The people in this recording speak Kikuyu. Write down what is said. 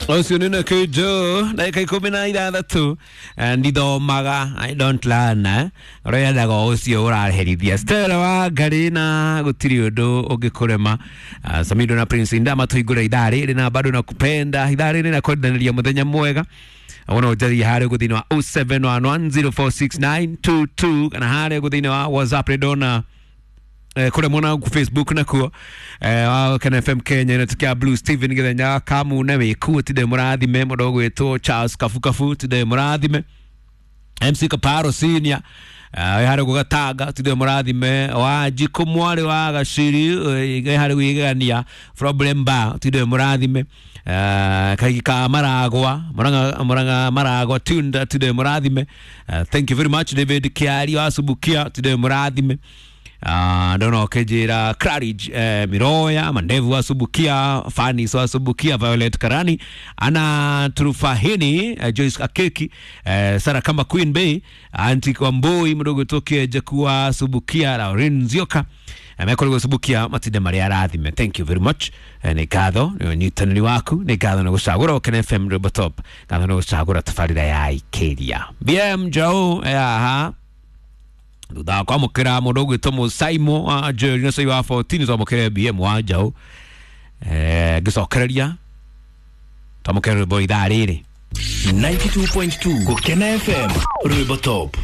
Ũcio nĩ Nakujo ndagĩka 16 ndithomaga, I don't learn, eh. Ũrĩa yendaga ũcio ũraherithia Stella wa Ngarĩ na gũtirĩ ũndũ ũngĩkũrema. Samido na Prince Indama tũhingũre ithaa rĩrĩ na bado nakupenda ithaa rĩrĩ na kwendanĩria mũthenya mwega. Wona ũnjaria harĩa ũguo thĩinĩ wa 0711046922 kana harĩa ũguo thĩinĩ wa WhatsApp nĩ ndona kũrĩa mwena ku Facebook nakuo wa Ken FM Kenya inatukia Blue Steven Githenya Kamune wĩkuo tinde mũrathime mũndũ ũgwĩtwo Charles Kafukafu tinde mũrathime MC Kaparo Senior wĩ harĩa gũgatanga tinde mũrathime Wanjikũ mwarĩ wa Gaciri wĩ harĩa gwĩgegania Problem Bar tinde mũrathime Kaigi ka Maragwa Murang'a Maragwa Tunda tinde mũrathime. Thank you very much David Kiari wa Subukia tinde mũrathime. Ndona ũkĩnjĩra Claridge Miroya Mandevu wa Subukia Fanis wa Subukia Violet Karani ana Turufahini Joyce Akeki Sara kama Queen Bay Anti Wambui mdogo toke Jakua Subukia Lauren Nzioka mekoragwo Subukia matinde marĩa arathime. Thank you very much. Nĩ ngatho nĩ ũnyitanĩri waku, nĩ ngatho nĩ gũcagũra Okene FM Rwĩmbo Top, ngatho nĩ gũcagũra tabarĩra ya Ikeria BM Jau aha thutha wa kwamũkĩra mũndũ ũgwĩtwo Mũsaimo wa Njeri na Cai wa 14 twamũkĩre BM wa Njaũ ngĩcokereria twamũkĩre rwĩmbo ithaa rĩrĩ. 92.2 Gukena FM Rwimbo Top.